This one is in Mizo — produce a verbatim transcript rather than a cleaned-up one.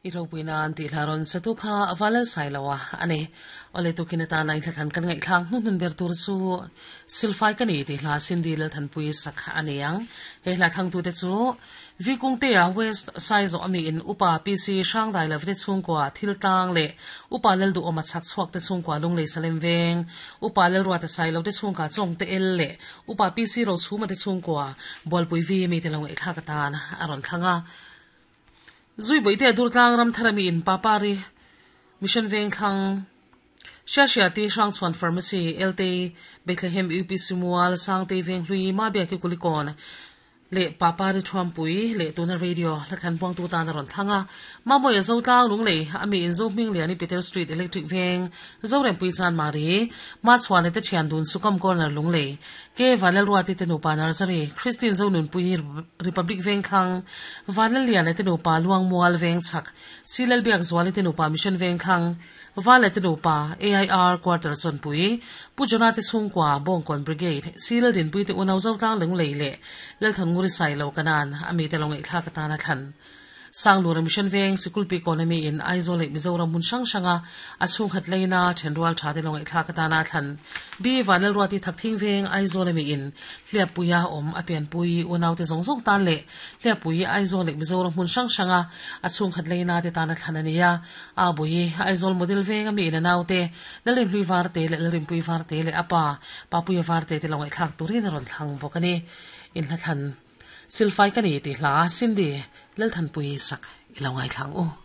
I ropuinan ti hlaron satu kha avalal sailawa ani ole to kinata nai thlan kan ngai thlang hun hun ber tur chu silfai kani ti hla sindi lal than pui sakha aniang he hla thang tu te chu vikung te a west size ami in upa pc hrang dai love te chung kwa thil tang le upa lel du oma chak chuak te chung kwa lung le salem veng upa lel ruwa te sai lo te chung ka chong te el le upa pc ro chuma te chung kwa bolpui vi mi te long e thla ka tan aron thlanga zui boite durtlang ram tharami in papari mission veng thlang sha sha ti hrang chuan pharmacy lte Bethlehem U P Simual sangte veng hlui ma bia ki kulikon le papari thuam pui le tuna radio la than pong tu ta na ron thlanga ma moi zo tlang lung le ami in zo ming le ani Peter Street Electric Veng zo rem pui chan mari ma chuan te thian dun sukam corner lung le ke vanel ruati te nupa nursery Christine zo nun pui Republic Veng khang vanel lian te nupa luang mual veng chak silal biak zwali te nupa Mission Veng khang vale te nupa A I R quarter chon pui pujona te chungkwa bongkon brigade silal din pui te unaw zo tlang lung le le lel thang nguri sai lo kanan ami te long thla ka ta na than Sanglur Mission Veng Sikulpi Economy in Aizawl Mizoram mun sang sanga achung khat leina thenrual tha te long thla ka ta na than B vanel ruati thakthing veng Aizawl mi in hliapuia om apian pui unaw te zong zong tan le hliapui Aizawl Mizoram mun sang sanga achung khat leina te ta na than ania a bui Aizawl model veng ami in anaw te lalim hlui var te le lalim pui var te le apa papuia var te te long thlak turin ron thlang bokani in hla than silfai kani ti hla sindi lel than pui sak ilongai thlang u.